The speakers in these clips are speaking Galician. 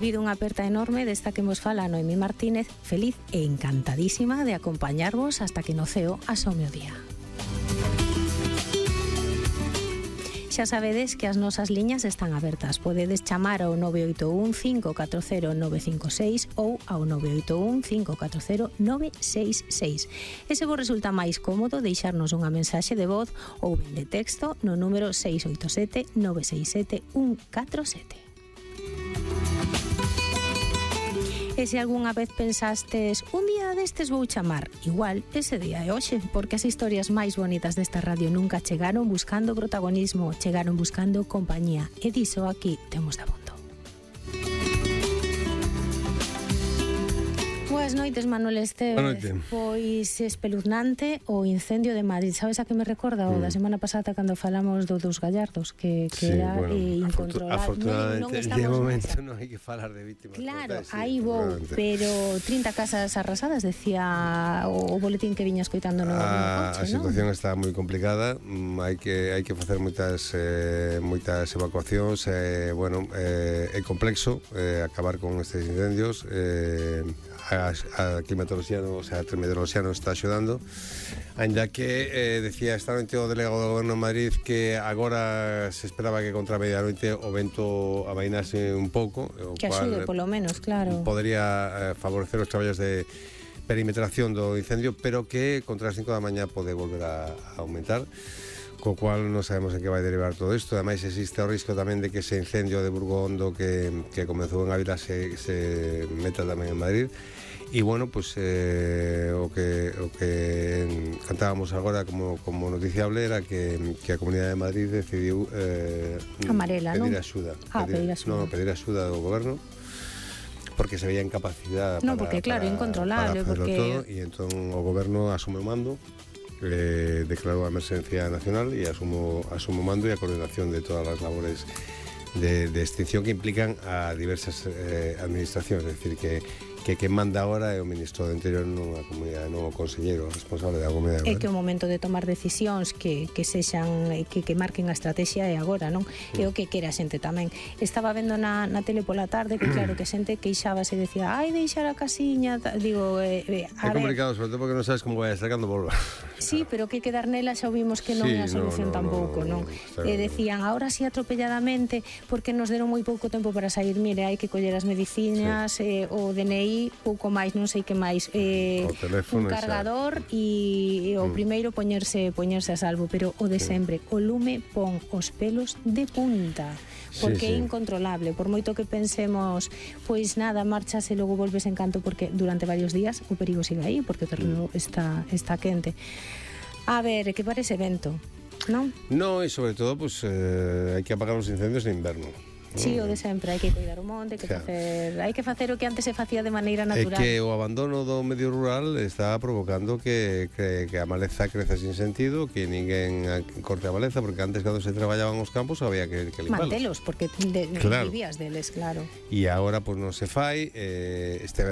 Habido unha aperta enorme desta que vos fala Noemí Martínez, feliz e encantadísima de acompañarvos hasta que no ceo asome o día. Xa sabedes que as nosas liñas están abertas. Podedes chamar ao 981 540 956 ou ao 981 540 966. E se vos resulta máis cómodo deixarnos unha mensaxe de voz ou ben de texto no número 687 967 147. E se algunha vez pensastes un día destes vou chamar, igual ese día é hoxe, porque as historias máis bonitas desta radio nunca chegaron buscando protagonismo, chegaron buscando compañía, e diso aquí temos de abondo. Boas noites, Manuel Esteves. Pois espeluznante o incendio de Madrid. Sabes a que me recorda o da semana pasada cando falamos dos gallardos, que sí, era incontrolable. Afortunadamente, de momento non hai que falar de vítimas. Claro, aí vou, pero 30 casas arrasadas, decía o boletín que viña escoitando no coche, a situación está moi complicada, hai que facer moitas evacuacións, é complexo acabar con estes incendios. A climatoloxía, o sea, a meteoroloxía nos está axudando, ainda que decía esta noite o delegado do Goberno de Madrid que agora se esperaba que contra a medianoite o vento amainase un pouco, o que axude polo menos, claro, podería favorecer os traballos de perimetración do incendio, pero que contra as 5 da mañá pode volver a aumentar, co cual non sabemos en que vai derivar todo isto. Ademais existe o risco tamén de que ese incendio de Burgondo que comezou en Ávila se meta tamén en Madrid. E bueno, pues o que cantábamos agora como noticiable era que a Comunidade de Madrid decidiu pedir axuda. Pedir axuda do Goberno, porque se veía incapacidade porque claro, incontrolable, porque todo, e entón o Goberno asume o mando, declarou a emerxencia nacional e asumo o mando e a coordinación de todas as labores de extinción que implican a diversas administracións, é dicir, que manda agora é o Ministro do Interior nunha comunidade, non o conselleiro responsable da comunidade. É que o momento de tomar decisións que sexan, que marquen a estrategia é agora, non? É o que quere a xente tamén. Estaba vendo na tele pola tarde que claro, que xente queixábase e decía, ai, deixar a casiña, digo, é complicado, sobre todo porque non sabes como vai a estar cando volva. Sí, pero que quedar nela xa vimos que non é a solución tampouco, non? E decían, ahora sí atropelladamente, porque nos deron moi pouco tempo para sair, mire, hai que coller as medicinas, o DNI, pouco máis, non sei que máis, un cargador e o primeiro poñerse a salvo, pero o de sempre, o lume pon os pelos de punta, porque é incontrolable, por moito que pensemos, pois nada, marchas e logo volves en canto, porque durante varios días o perigo sigue aí, porque o terreno está quente. A ver, que parece vento, non? No, e sobre todo, pues hai que apagar os incendios en inverno. Sí, o de sempre, hai que cuidar o monte, hai que facer o que antes se facía de maneira natural. É que o abandono do medio rural está provocando que a maleza creza sin sentido, que ninguén corte a maleza, porque antes cando se traballaban os campos había que limparlos. Mantelos, porque vivías deles, claro. E agora pois non se fai, este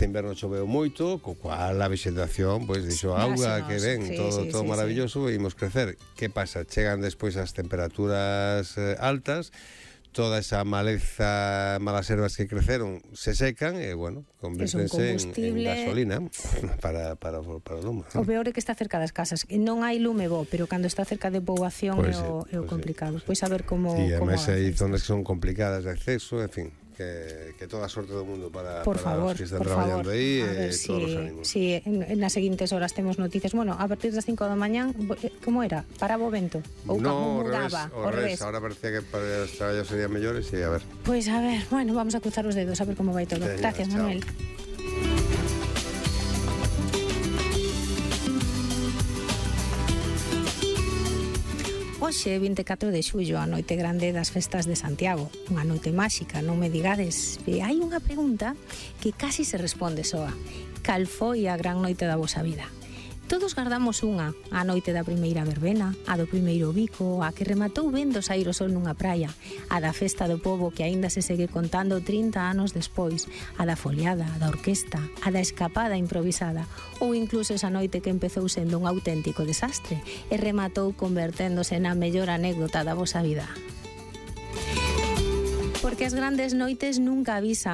inverno choveu moito, co cual a vegetación pois dixo auga que ven, todo maravilloso, e imos crecer. Que pasa? Chegan despois as temperaturas altas, toda esa maleza, malas ervas que creceron se secan e, bueno, convértense en gasolina para o lume. O peor é que está cerca das casas, que non hai lume bo, pero cando está cerca de poboación é o complicado. Pois a ver como... E ademais hai zonas que son complicadas de acceso, en fin, que toda a sorte do mundo para os que están traballando aí, todos os ánimos. Si, nas seguintes horas temos noticias. Bueno, a partir das 5 da mañán, como era? Paraba o vento? Ou como mudaba? Ao revés, ahora parecía que para os traballos serían mellores e a ver. Pois a ver, bueno, vamos a cruzar os dedos a ver como vai todo. Gracias, Manuel. Hoxe, 24 de xullo, a noite grande das festas de Santiago, unha noite máxica, non me digades. E hai unha pregunta que casi se responde soa. Cal foi a gran noite da vosa vida? Todos gardamos unha, a noite da primeira verbena, a do primeiro bico, a que rematou vendo saír o sol nunha praia, a da festa do pobo que aínda se segue contando 30 anos despois, a da foliada, a da orquesta, a da escapada improvisada, ou incluso esa noite que empezou sendo un auténtico desastre e rematou converténdose na mellor anécdota da vosa vida. porque as grandes noites nunca avisan.